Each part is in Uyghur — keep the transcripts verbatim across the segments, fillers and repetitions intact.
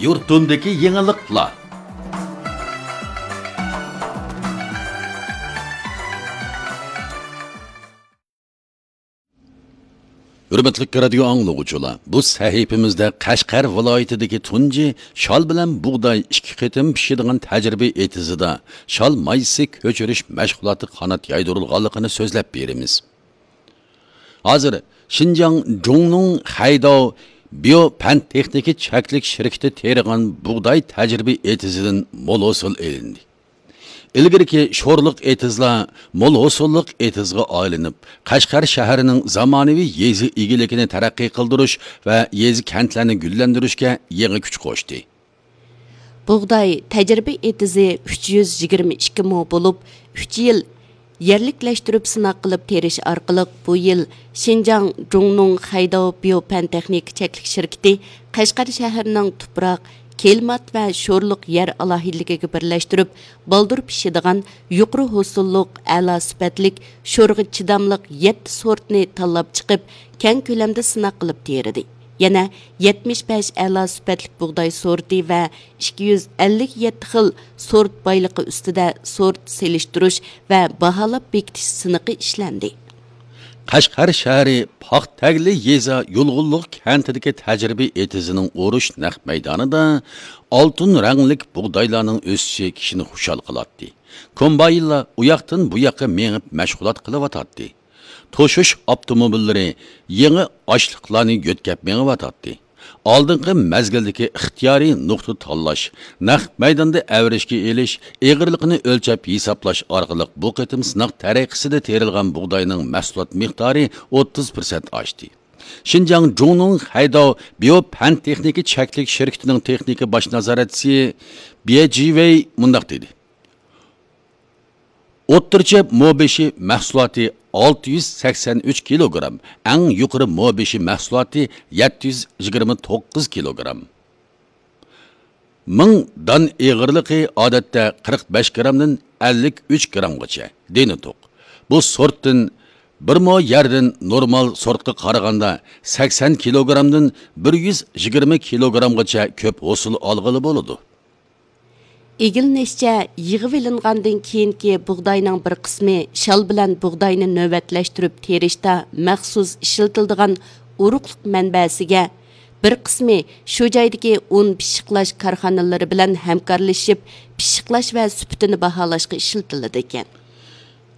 يۇرتۇمدىكى يېڭىلىقلار. ھۆرمەتلىك رادىيو ئاڭلىغۇچىلار، بۇ سەھىپىمىزدە قەشقەر ۋىلايىتىدىكى تۇنجى شال بىلەن بۇغداي ئىككى قېتىم پىشىدىغان تەجرىبە ئېتىزىدا شال مايسىسى كۆچۈرۈش مەشغۇلاتى قانات يايدۇرۇلغانلىقىنى سۆزلەپ بېرىمىز. ھازىر شىنجاڭ جۇڭنىڭ خەيداۋ بىيو پەن تېخنىكا چەكلىك شىركىتى تېرىغان بۇغداي تەجرىبە ئېتىزىدىن مول ھوسۇل ئېلىندى. ئىلگىرىكى شورلۇق ئېتىزلار مول ھوسۇللۇق ئېتىزغا ئايلىنىپ، قەشقەر شەھىرىنىڭ زامانىۋى يېزا ئىگىلىكىنى تەرەققىي قىلدۇرۇش ۋە يېزا كەنتلەرنى گۈللەندۈرۈشكە يېڭى كۈچ قوشتى. بۇغداي تەجرىبە ئېتىزى ئۈچ يۈز يىگىرمە ئىككى مو بولۇپ، ئۈچ يىل يەرلىكلەشتۈرۈپ سىناق قىلىپ تېرىش ئارقىلىق، بۇ يىل شىنجاڭ جۇڭنۇڭ خەيداۋ بىيو پەن تېخنىكا چەكلىك شىركىتى قەشقەر شەھىرىنىڭ تۇپراق، كىلىمات ۋە شورلۇق يەر ئالاھىدىلىكىگە بىرلەشتۈرۈپ، بالدۇر پىشىدىغان، يۇقىرى ھوسۇللۇق، ئەلا سۈپەتلىك، شورغا چىداملىق يەتتە سورتنى تاللاپ چىقىپ، كەڭ كۆلەمدە سىناق قىلىپ تېرىدى. يەنە يەتمىش بەش ئەلا سۈپەتلىك بۇغداي سورتى ۋە ئىككى يۈز ئەللىك يەتتە خىل سورت بايلىقى ئۈستىدە سورت سېلىشتۇرۇش ۋە باھالاپ بېكىتىش سىنىقى ئىشلەندى. قەشقەر شەھىرى پاختەگلى يېزا يۇلغۇنلۇق كەنتىدىكى تەجرىبە ئېتىزىنىڭ ئورۇش نەق مەيدانىدا ئالتۇن رەڭلىك بۇغدايلارنىڭ ئۆسۈشى كىشىنى خۇشال قىلاتتى. كومباينلار ئۇ ياقتىن بۇ ياققا مېڭىپ مەشغۇلات قىلىۋاتاتتى. توشۇش ئاپتوموبىللىرى يېڭى ئاشلىقلارنى يۆتكەپ مېڭىۋاتاتتى. ئالدىنقى مەزگىلدىكى ئىختىيارىي نۇقتا تاللاش، نەق مەيداندا ئەۋرىشكە ئېلىش، ئېغىرلىقىنى ئۆلچەپ ھېسابلاش ئارقىلىق بۇ قېتىم سىناق تەرىقىسىدە تېرىلغان بۇغداينىڭ مەھسۇلات مىقدارى ئوتتۇز پىرسەنت ئاشتى. شىنجاڭ جۇڭنىڭ خەيداۋ بىيو پەن تېخنىكا چەكلىك شىركىتىنىڭ تېخنىكا باش نازارەتچىسى بيې جىۋېي مۇنداق دېدى. ئوتتۇرىچە مو بېشى مەھسۇلاتى ئالتە يۈز سەكسەن ئۈچ كىلوگرام، ئەڭ يۇقىرى مو بېشى مەھسۇلاتى يەتتە يۈز يىگىرمە توققۇز كىلوگرام. مىڭ دان ئېغىرلىقى ئادەتتە قىرىق بەش گرامدىن ئەللىك ئۈچ گرامغىچە دېنى توق. بۇ سورتتىن بىر مو يەردىن نورمال سورتقا قارىغاندا سەكسەن كىلوگرامدىن بىر يۈز يىگىرمە كىلوگرامغىچە كۆپ ھوسۇل ئالغىلى بولىدۇ. ئىگىلىنىشىچە، يىغىۋېلىنغاندىن كېيىنكى بۇغداينىڭ بىر قىسمى شال بىلەن بۇغداينى نۆۋەتلەشتۈرۈپ تېرىشتا مەخسۇس ئىشلىتىلىدىغان ئۇرۇقلۇق مەنبەسىگە، بىر قىسمى شۇ جايدىكى ئۇن پىششىقلاش كارخانىلىرى بىلەن ھەمكارلىشىپ، پىششىقلاش ۋە سۈپىتىنى باھالاشقا ئىشلىتىلىدىكەن.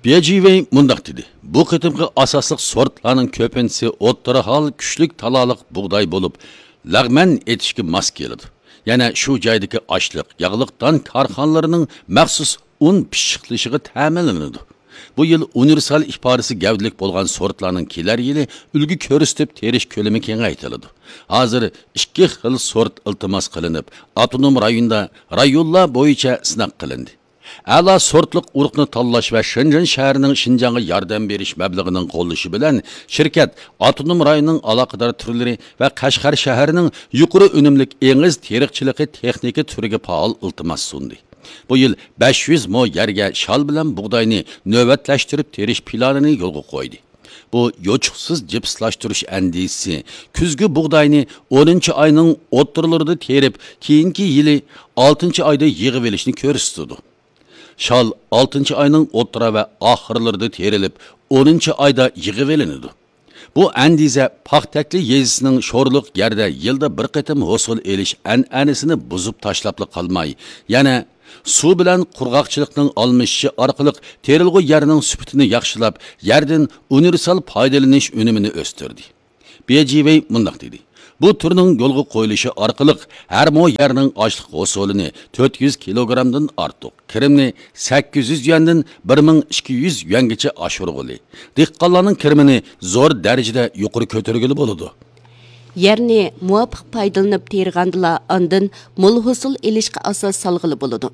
بيې جىۋېي مۇنداق دېدى، بۇ قېتىمقى ئاساسلىق سورتلارنىڭ كۆپىنچىسى ئوتتۇرا ھال كۈچلۈك تالالىق بۇغداي بولۇپ، لەغمەن ئېتىشكە ماس كېلىدۇ. يەنە شۇ جايدىكى ئاشلىق، ياغلىق دان كارخانىلىرىنىڭ مەخسۇس ئۇن پىششىقلىشىغا تەمىنلىنىدۇ. بۇ يىل ئۇنىۋېرسال ئىپادىسى گەۋدىلىك بولغان سورتلارنىڭ كېلەر يىلى ئۈلگە كۆرسىتىپ تېرىش كۆلىمى كېڭەيتىلىدۇ. ھازىر ئىككى خىل سورت ئىلتىماس قىلىنىپ، ئاپتونوم رايوندا رايونلار بويىچە سىناق قىلىندى. ئەلا سورتلۇق ئۇرۇقنى تاللاش ۋە شېنجېن شەھىرىنىڭ شىنجاڭغا ياردەم بېرىش مەبلىغىنىڭ قوللىشى بىلەن شىركەت ئاپتونوم رايوننىڭ ئالاقىدار تۈرلىرى ۋە قەشقەر شەھىرىنىڭ يۇقىرى ئۈنۈملۈك ئېڭىز تېرىقچىلىقى تېخنىكا تۈرىگە پائال ئىلتىماس سۇندى. بۇ يىل بەش يۈز مو يەرگە شال بىلەن بۇغداينى نۆۋەتلەشتۈرۈپ تېرىش پىلانىنى يولغا قويدى. بۇ يوچۇقسىز جىپسلاشتۇرۇش ئەندىزىسى كۈزگى بۇغداينى ئونىنچى ئاينىڭ ئوتتۇرىلىرىدا تېرىپ، كېيىنكى يىلى ئالتىنچى ئايدا يىغىۋېلىشنى كۆرسىتىدۇ. شال ئالتىنچى ئاينىڭ ئوتتۇرا ۋە ئاخىرلىرىدا تېرىلىپ، ئونىنچى ئايدا يىغىۋېلىنىدۇ. بۇ ئەندىزە پاختەكلى يېزىسىنىڭ شورلۇق يەردە يىلدا بىر قېتىم ھوسۇل ئېلىش ئەنئەنىسىنى بۇزۇپ تاشلاپلا قالماي، يەنە سۇ بىلەن قۇرغاقچىلىقنىڭ ئالمىشىشى ئارقىلىق تېرىلغۇ يەرنىڭ سۈپىتىنى ياخشىلاپ، يەردىن ئۇنىۋېرسال پايدىلىنىش ئۈنۈمىنى ئۆستۈردى. بيې جىۋېي مۇنداق دېدى، بۇ تۈرنىڭ يولغا قويۇلۇشى ئارقىلىق ھەر مو يەرنىڭ ئاشلىق ھوسۇلىنى تۆت يۈز كىلوگرامدىن ئارتۇق، كىرىمنى سەككىز يۈز يۈەندىن بىر مىڭ ئىككى يۈز يۈەنگىچە ئاشۇرغىلى، دېھقانلارنىڭ كىرىمىنى زور دەرىجىدە يۇقىرى كۆتۈرگىلى بولىدۇ. يەرنى مۇۋاپىق پايدىلىنىپ تېرىغاندىلا، ئاندىن مول ھوسۇل ئېلىشقا ئاساس سالغىلى بولىدۇ.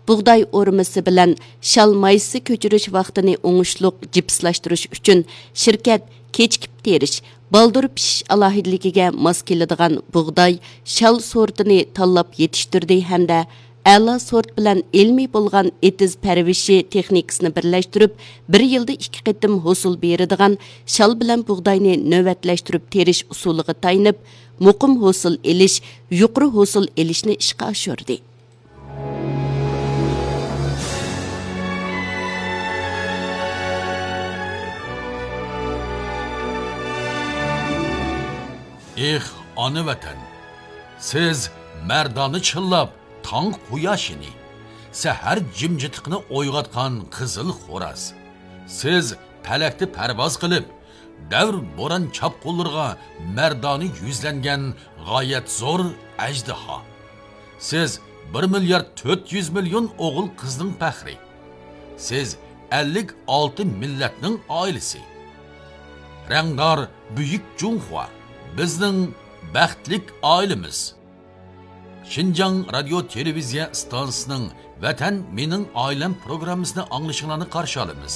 بۇغداي ئورمىسى بىلەن شال مايسىسى كۆچۈرۈش ۋاقتىنى ئوڭۇشلۇق جىپسلاشتۇرۇش ئۈچۈن، شىركەت كېچىكىپ تېرىش، بالدۇر پىشىش ئالاھىدىلىكىگە ماس كېلىدىغان بۇغداي، شال سورتىنى تاللاپ يېتىشتۈردى ھەمدە ئەلا سورت بىلەن ئىلمىي بولغان ئېتىز پەرۋىشى تېخنىكىسىنى بىرلەشتۈرۈپ، بىر يىلدا ئىككى قېتىم ھوسۇل بېرىدىغان شال بىلەن بۇغداينى نۆۋەتلەشتۈرۈپ تېرىش ئۇسۇلىغا تايىنىپ، مۇقىم ھوسۇل ئېلىش، يۇقىرى ھوسۇل ئېلىشنى ئىشقا ئاشۇردى. ئېھ، ئانا ۋەتەن! سىز مەردانە چىللاپ، تاڭ قۇياشىنى، سەھەر جىمجىتلىقىنى ئويغاتقان قىزىل خوراز. سىز پەلەكتە پەرۋاز قىلىپ، دەۋر بوران چاپقۇنلىرىغا مەردانە يۈزلەنگەن غايەت زور ئەجدىھا. سىز بىر مىليارد تۆت يۈز مىليون ئوغۇل قىزنىڭ پەخرى. سىز ئەللىك ئالتە مىللەتنىڭ ئائىلىسى. رەڭدار بۈيۈك جۇڭخۇا، بىزنىڭ بەختلىك ئائىلىمىز. شىنجاڭ رادىيو تېلېۋىزىيە ئىستانسىسىنىڭ ۋەتەن مېنىڭ ئائىلەم پروگراممىسىنى ئاڭلىشىڭلارنى قارشى ئالىمىز.